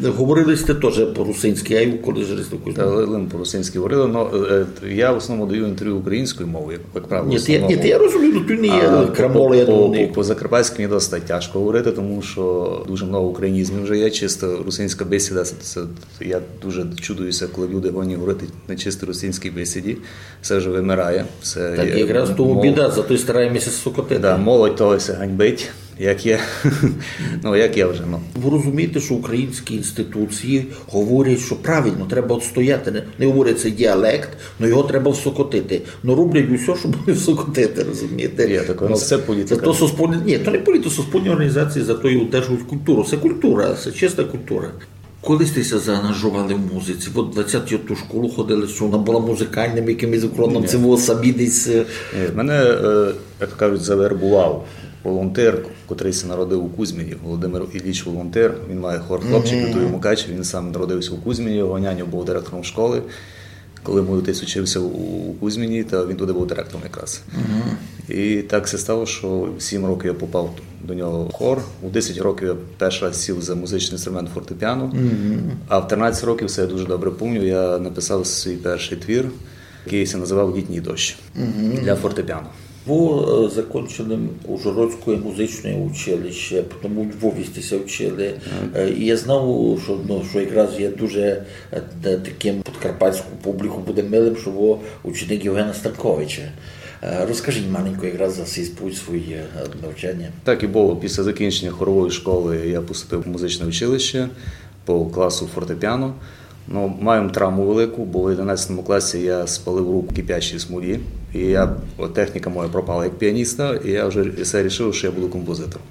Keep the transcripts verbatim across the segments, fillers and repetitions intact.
Говорили сьте тоже по-русинськы, а й у коледжі з такой. Та ли-, лим по-русинськы говорили, но, е, е, я в основному даю інтервю українською мовою, як, як правило, в основному. Ні, ти, ні, ти, я розумію, но ту не є крамола, я думаю. По, по, по-закарпатськи мені досить тяжко говорити, тому що дуже много українізмів вже є, чисто русинська бесіда, це, це, я дуже чудуюся, коли люди годні говорити на чисто русинській бесіді, це вже вимирає. Це є мов-. Так якраз тому біда, зато й стараємося сокотити. Да, молодь того ся ганьбить. Як є. Ну, як є вже, ну. Вы розумієте, што українські інституції говорять, што правильно, треба отстояти. Не, не говорять, це діалект, но його треба всокотити. Но роблять усьо, щоб не всокотити, розумієте? Є таке, ну, це політика. Зато суспільні, ні, то не політика, суспільні організації зато й удержують культуру. Це культура, це чиста культура. Коли сьте ся заангажовали в музиці? От двадцять ту школу ходили, што вона была музикальным якымось уклоном, ци вы самі десь, е? Ні, мене, е, як кажуть, завербував волонтер, котрый ся народив у Кузьміні, Володимир Ілліч Волонтер, він має хор «Хлопчик», і туй у Мукачеві, він сам народився у Кузьміні, його няньо був директором школи. Коли мій отець учився у, у Кузьміні, то він туди був директором якраз. І так ся стало, що в сім років я попав до нього в хор. У десять років я перший раз сів за музичний інструмент фортепіано. А в тринадцять років, це я дуже добре пам'ятаю, я написав свій перший твір, який ся називав «Літній дощ» для фортепіано. Вы, е, закончили Ужгородське музичне училище, потім у Львові сьте ся вчили. Е, і я знав, што, ну, што якраз є дуже, е, та-, такым подкарпатську публіку буде милым, што вы ученик Євгена Станковича. Е, розкажіть маленько якраз за сей путь свій, е, навчання. Так і было. Після закінчення хорової школи я поступив в музичне училище по класу фортепіано. Ну, мав травму велику, бо в одинадцятому класі я спалив руку в кипячій смолі, і я, от, техніка моя пропала як піаніста, і я вже все рішив, що я буду композитором.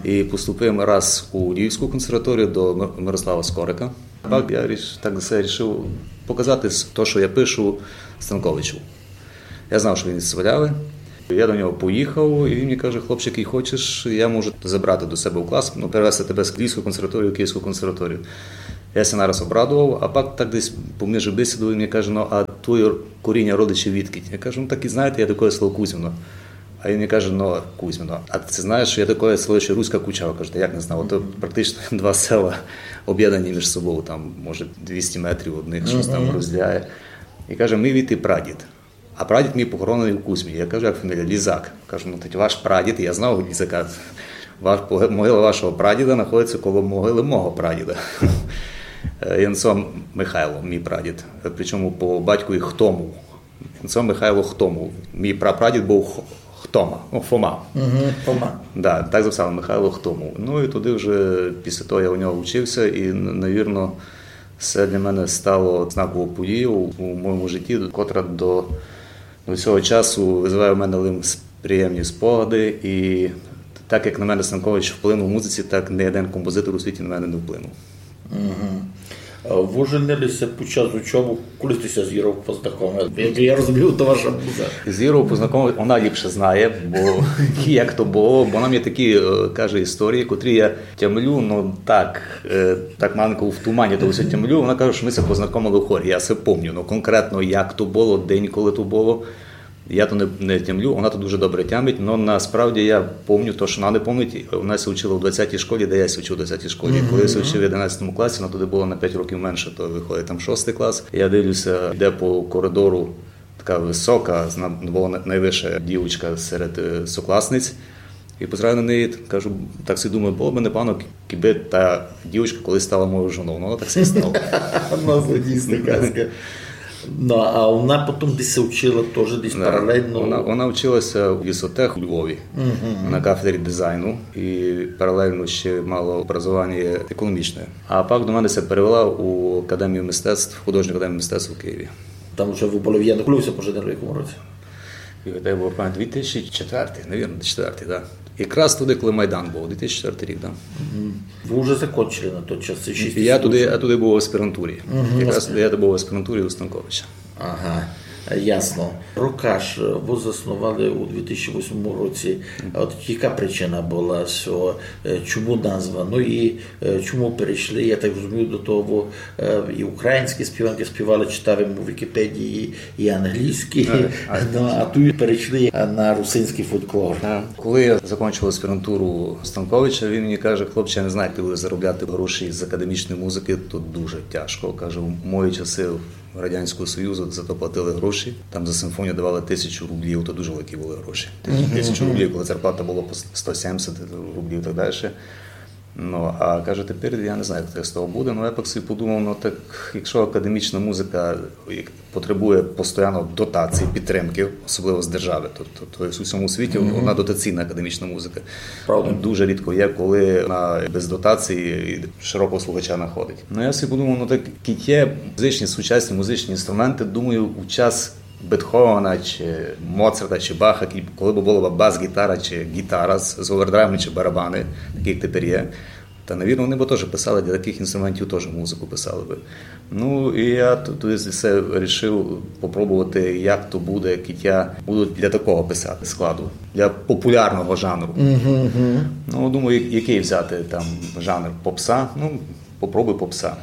І поступив раз у Львівську консерваторію до Ми-, Мирослава Скорика. Так я ріш-, так все рішив показати с-, то, що я пишу, Станковичу. Я знав, що він з Свалявы. Я до нього поїхав, і він мені каже: «Хлопчик, і хочеш, я можу забрати до себе у клас, ну, перевести тебе з Львівської консерваторії в Київську консерваторію». Я ся нараз обрадував, а пак так десь поміж бесідою він мені каже: «Ну, а твоє коріння, родичі відкіть?» Я кажу: «Ну, так і знаєте, я такоє село Кузьміно». А він мені каже: «Ну, Кузьміно, а ти знаєш, що є такоє село ще Руська Кучава?» Кажу: «Та як не знав? Ото практично два села об'єднані між собою, там, може, двісті метрів одних щось там розділяє». І каже: «Мій від і прадід. А прадід мій похоронений у Кузьмі». Я кажу: «Як фамілія?» «Лізак». Кажу: «Ну, тоді ваш прадід, я знав Лізака. Ваш, пог-, могила вашого прадіда знаходиться коло могили мого прадіда». Е, Янцо Михайло, мій прадід. Е, причому по батькові Хтому. Янцо Михайло Хтому. Мій прапрадід був Х-, Хтома, ну, Фома. Мгм, Фома. Да, так записали, Михайло Хтому. Ну, і туди вже після того я у нього вчився, і, н-, навірно, це для мене стало знаковою подією у, у моєму житті, котра до, до цього часу визиває в мене лише приємні спогади. І так як на мене Станкович вплинув у музиці, так ні один композитор у світі на мене не вплинув. Мгм. Е, вы женили ся під час учобы, коли сьте ся з Іров познакомили? Як я розумію, то ваша муза. З Іров познакомив, вона ліпше знає, бо як то було, бо вона мені такі, е, каже історії, котрі я тямлю, ну так, е, так маленько в тумані то все тямлю. Вона каже, що ми ся познакомили в хорі, я все помню, ну конкретно як то було, день, коли то було. Я то не, не тямлю, вона то дуже добре тямить, но насправді я помню то, що вона не помнить. Вона ся вчила у двадцятій школі, де я ся вчив у двадцятій школі. Коли я ся вчив в одинадцятому класі, вона туди була на пять років менше, то виходить там шостий клас. Я дивлюся, йде по коридору така висока, зна-, була най-, найвища дівчинка серед, е, сокласниць. І позираю на неї, кажу, так собі думаю, було б непогано, кібы та дівчинка колись стала моєю жоною. Ну, вона так ся і стала. Ну, це дійсно казка. Ну, а вона потім десь ся вчила теж десь паралельно? Да. Вона, вона вчилася в лісотех у Львові на кафедрі дизайну і паралельно ще мала образування економічне. А пак до мене ся перевела у Академію мистецтв, Художню академію мистецтв у Києві. Там уже вы были в Єдино. Коли вы ся поженили, в якому році? І дай Бог пам'ять, дві тисячі четвертий, навірно, четвертий, да. Якраз туди, коли Майдан був, дві тисячі четвертий рік, да. Мгм. Вы уже закончили на той час, це шість. Я туди, я туди був в аспірантурі. Мгм. Якраз туди я був в аспірантурі у Станковича. Ага. Ясно. Рокаш, е, вы заснували у дві тисячі восьмому році. А от яка причина была, што, е, чому назва? Ну і, е, чому перейшли, я так розумію, до того, е, і українські співанки співали, читав им у Вікіпедії, і англійські, ну, а туй перейшли на русинськый фолклор. Коли я закінчував аспірантуру Станковича, він мені каже: «Хлопче, я не знаю, як ти будеш заробляти гроші з академічної музики, то дуже тяжко». Каже: «У мої часи Радянського Союзу за то платили гроші. Там за симфонію давали тисячу рублів, то дуже великі були гроші. Тисячу рублів, коли зарплата була по сто сімдесят рублів і так далі. Ну, а каже, тепер я не знаю, як з того буде. Ну, я пак собі подумав, ну так, якщо академічна музика потребує постійно дотації, підтримки, особливо з держави, то, то, то у всьому світі вона дотаційна академічна музика. Правда. Дуже рідко є, коли вона без дотації і широкого слухача знаходить. Ну, я собі подумав, ну так, кіть є музичні, сучасні музичні інструменти, думаю, у час Бетховена чи Моцарта чи Баха, коли б була б бас-гітара чи гітара з, з овердрайвом чи барабани, такі, як тепер є, та, навірно, вони б теж писали, для таких інструментів теж музику писали би. Ну, і я т-, тоді все рішив попробовати, як то буде, як я буду для такого писати складу, для популярного жанру. Ну, думаю, я-, який взяти там жанр? Попса? Ну, попробуй попса.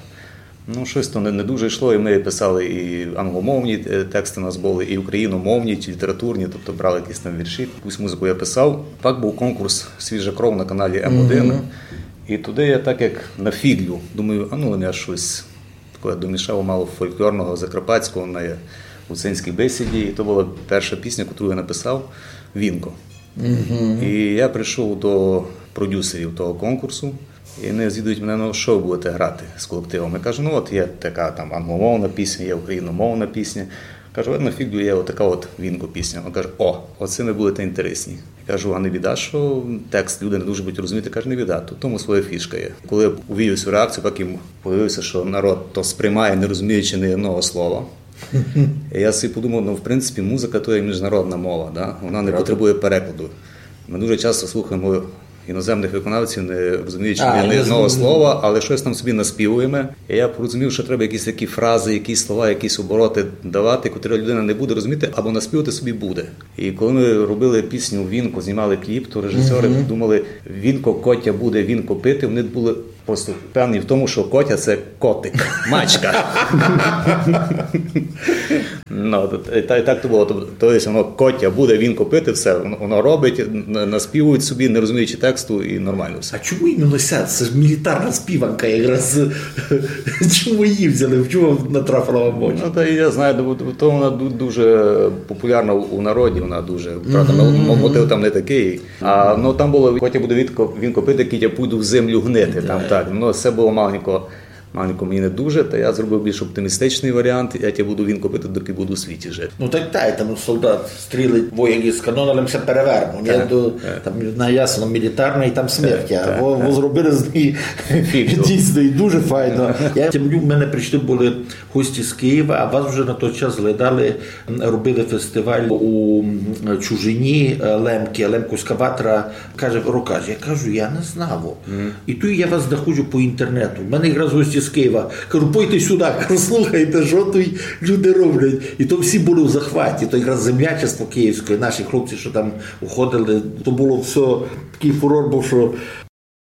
Ну, щось то не, не дуже йшло, і ми писали і англомовні, е, тексти у нас були, і україномовні, чи літературні, тобто брали якісь там вірші. Якусь музику я писав. Так був конкурс «Свіжа кров» на каналі М один. І туди я так як на фіґлю, думаю, а ну, я щось таке домішав мало фольклорного, закарпатського на гуцульській бесіді. І то була перша пісня, яку я написав, «Вінко». І я прийшов до продюсерів того конкурсу, і вони звідують мене: «Ну, що ви будете грати з колективом?» Я кажу: «Ну, от є така там англомовна пісня, є україномовна пісня». Кажу: «Видно, фіґлю, є отака от «Вінко» пісня». Він каже: «О, оце ви будете інтересні». Я кажу: «А не біда, що текст люди не дуже будуть розуміти?» Каже: «Не біда, тут в тому своя фішка є». Коли я увидів цю реакцію, потім появився, що народ то сприймає, не розуміючи ні одного слова. І я собі подумав, ну, в принципі, музика то є міжнародна мова, да? Вона не потребує перекладу. Ми дуже часто слухаємо іноземних виконавців, не розуміючи ні одного слова, але щось там собі наспівуємо. І я порозумів, що треба якісь такі фрази, якісь слова, якісь обороти давати, котрі людина не буде розуміти, або наспівати собі буде. І коли ми робили пісню «Вінко», знімали кліп, то режисери думали: «Вінко, котя буде вінко пити». Вони були просто впевнені в тому, що котя — це котик, мачка. Ну, то, і та-, і так то було. Тобто, то є воно: «Котя буде вінко пити», все, воно, воно робить, на-, наспівують собі, не розуміючи тексту, і нормально все. А чому іменно ся? Це ж мілітарна співанка якраз. Чому її взяли? В чому натрапила вам в очі? Ну, та я знаю, ну, то вона ду-, дуже популярна у, у народі, вона дуже, правда, м-, мотив там не такий. А, ну, там було: «Котя буде вінко, вінко пити, кіть я пойду в землю гнити». Там так. Ну, це було маленько, маленько мені не дуже, та я зробив більш оптимістичний варіант: «Я тя буду вінко пити, доки буду у світі жити». Ну, так, так, там солдат стрілить, вояк із канона, але все перевернув. Ні? Так, то, так. Там, на, ясно, мілітарна, і там смерть. Так, а так, во, так. Во зробили з неї фіґлю. Дійсно, і дуже файно. Я тямлю, в мене прийшли були гості з Києва, а вас вже на той час глядали, м, робили фестиваль у, м, Чужині, е, Лемки, Лемковська ватра. Каже: «Рокаш». Я кажу: «Я не знав». І тут я вас знаходжу по інтернету. У мене якраз гості з Києва. Кажу: «Пойте сюди, кажу, слухайте, що тут люди роблять». І то всі були в захваті. То якраз землячество київське, наші хлопці, що там уходили, то було все, такий фурор був, що